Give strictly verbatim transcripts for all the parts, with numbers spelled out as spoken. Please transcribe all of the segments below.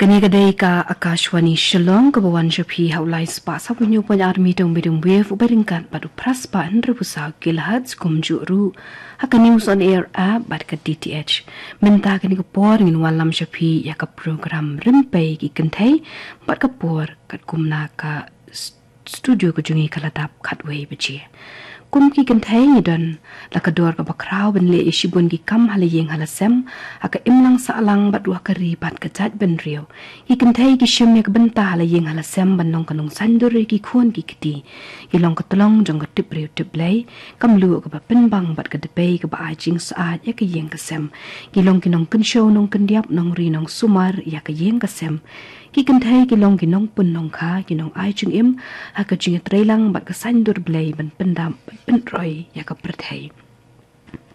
Kane ka dei ka Akashvani Shillong, kaba wan sha phi ha u lai spah saw phew hynñiew point ar meter medium wave, uba ryngkat bad u phra spah hynriew phew saw kilohertz, kumjuh ruh ha ka News on Air app bad ka D T H. Mynta kane ka por ngin wallam sha phi ïa ka program Rympei ki Kynthei, bad ka por katkum na ka s-, studio ka jong ngi ka la dap khatwei baje. Kum ki kynthei ngi don la ka dor kaba khraw ban leh ïa shibun ki kam ha la ïing ha la sem, ha ka imlang sahlang bad ruh ha ka ri bad ka jaitbynriew. Ki kynthei ki shim ïa ka bynta ha la ïing ha la sem ban long ka nongsaiñdur ïa ki khun ki kti. Ki long ka tlong jong ka tip briew tip Blei, ka mluh kaba pynbang bad ka dpei kaba ai jingsyaid ïa ka ïing ka sem. Ki long ki nongkynshew nongkyndiap, nongri nongsumar ïa ka ïing ka sem. Ki kynthei ki long ki nongpun nongkha, ki nongai jingim ha ka jingïatreilang bad ka saiñdur Blei ban pyndap bad pynroi ïa ka pyrthei.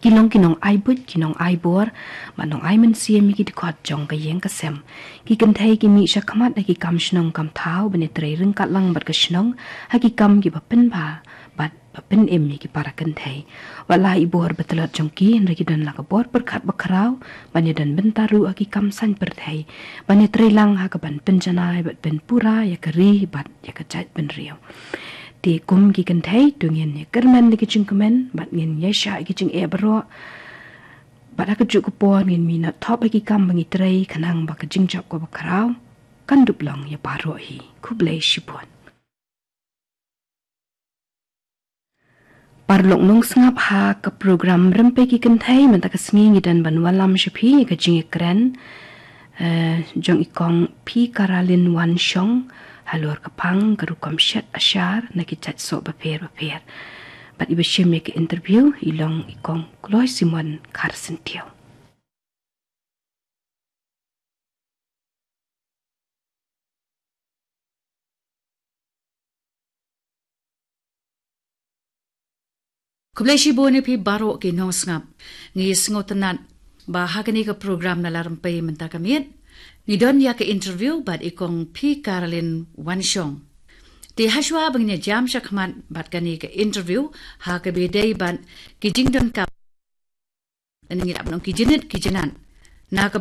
Ki long ki nongai buit, ki nongai bor bad nongai mynsiem ïa ki dkhot jong ka ïing ka sem. Ki kynthei ki mih shakhmat ha ki kam shnong kam thaw ban ïatrei ryngkat lang bad ka shnong ha ki kam kiba pynbha bad ba pynim ïa ki para kynthei. Wat la i bor ba tlot jong ki, hynrei ki don la ka bor pyrkhat ba khraw ban ïadon bynta ruh ha ki kam saiñ pyrthei, ban ïatreilang ha kaban pynjanai bad pynpura ïa ka ri bad ïa ka jaitbynriew. Te kum ki kynthei, to ngin ïakyrmen da ki jingkmen bad ngin ïaishah ïa ki jingeh baroh. Bad ha kajuh ka por ngin mih noh thop ha ki kam ba ngi trei, khnang ba ka jingjop kaba khraw kan dup long ïa baroh hi. Khublei shibun. Paralok nongsngap, ha ka program Rympei ki Kynthei mynta ka sngi ngi don ban wallam sha phi ïa ka jingïakren, eh, jong i Kong P Karalin Wanshong, halor ka phang ka rukom shet ashar na ki jait soh bapher bapher. Bad iba shim ïa ka interview i long i Kong Kloi Simon Kharsyntiew. Khublei shibun ïa phi baroh ki nongsngap. Ngi sngewtynnat ba ha kane ka program Nala Rympei mynta ka miet ngi don ïa ka interview bad i Kong P Karalin Wanshong. Te hashwa ba ngin ïa jam shakhmat bad kane ka interview, ha kaba ïadei bad ki jingdonkam, ngi dap nong ki jingit ki jingat na ka